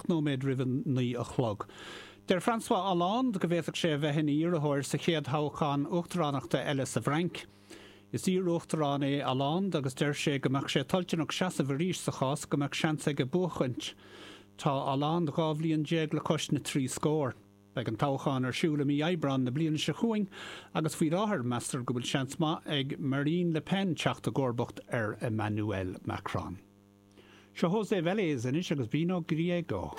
7 nóiméad roimh a 9 a chlog. Deir François Hollande go bhféadfadh sé a bheith ina iarrthóir sa chéad thoghchán uachtaránachta eile sa bhFrainc. Is iar-uachtarán é Hollande agus deir sé go mbeadh sé toilteanach seasamh arís sa chás go mbeadh seans aige buachaint. Tá Hollande 12 bhliain le cois na dtrí scór. Beidh an toghchán ar siúl i mí Aibreáin na bliana seo chugainn agus faoi láthair meastar go bhfuil seans maith ag Marine Le Pen teacht i gcomharbacht ar Emmanuel Macron. Seo José Vélez anois agus Vino Griego.